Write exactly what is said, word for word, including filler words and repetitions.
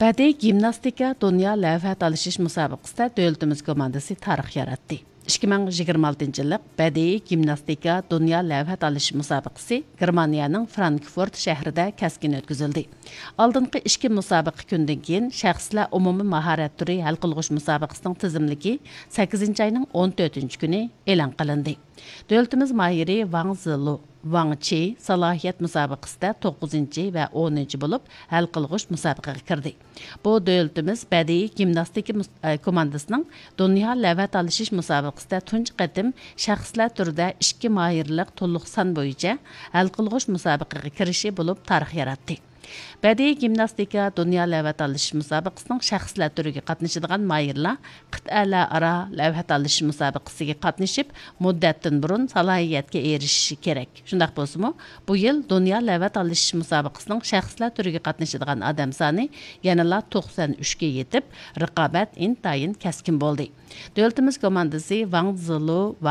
بەدىئىي گىمناستىكا دۇنيا لەۋھە تالىشىش مۇسابىقىسىدە دۆلىتىمىز كوماندىسى تارىخ ياراتتى. ئىككى مىڭ يىگىرمە ئالتىنچى يىللىق بەدىئىي گىمناستىكا دۇنيا لەۋھە تالىشىش مۇسابىقىسى گېرمانىيەنىڭ فرانكفورت شەھىرىدە كەسكىن ئۆتكۈزۈلدى. ئالدىنقى ئىككى مۇسابىقە كۈنىدىن كېيىن شەخسلەر ئومۇمىي ماھارەت تۈرى ھەل قىلغۇچ مۇسابىقىسىنىڭ تىزىملىكى سەككىزىنچى ئاينىڭ ئون تۆتىنچى كۈنى ئېلان قىلىندى. دۆلىتىمىز ماھىرى ۋاڭ زىلۇ، ۋاڭ چى سالاھىيەت مۇسابىقىسىدە توققۇزىنچى ۋە ئونىنچى بولۇپ ھەل قىلغۇچ مۇسابىقىگە كىردى. بۇ دۆلىتىمىز بەدىئىي گىمناستىكا مۇس-، ئە، كوماندىسىنىڭ دۇنيا لەۋھە تالىشىش مۇسابىقىسىدە تۇنجى قېتىم شەخسلەر تۈرىدە ئىككى ماھىرلىق تولۇق سان بويىچە ھەل قىلغۇچ مۇسابىقىگە كىرىشى بولۇپ تارىخ ياراتتى. بەدىئىي گىمناستىكا دۇنيا لەۋھە تالىشىش مۇسابىقىسىنىڭ شەخسلەر تۈرىگە قاتنىشىدىغان ماھىرلار قىتئەلەر ئارا لەۋھە تالىشىش مۇسابىقىسىگە قاتنىشىپ، مۇددەتتىن بۇرۇن سالاھىيەتكە ئېرىشىشى كېرەك. شۇنداق بولسىمۇ، بۇ يىل دۇنيا لەۋھە تالىشىش مۇسابىقىسىنىڭ شەخسلەر تۈرىگە قاتنىشىدىغان ئادەم سانى يەنىلا توقسەن ئۈچكە يېتىپ، رىقابەت ئىنتايىن كەسكىن بولدى. دۆلىتىمىز كوماندىسى ۋاڭ زىلۇ، ۋاڭ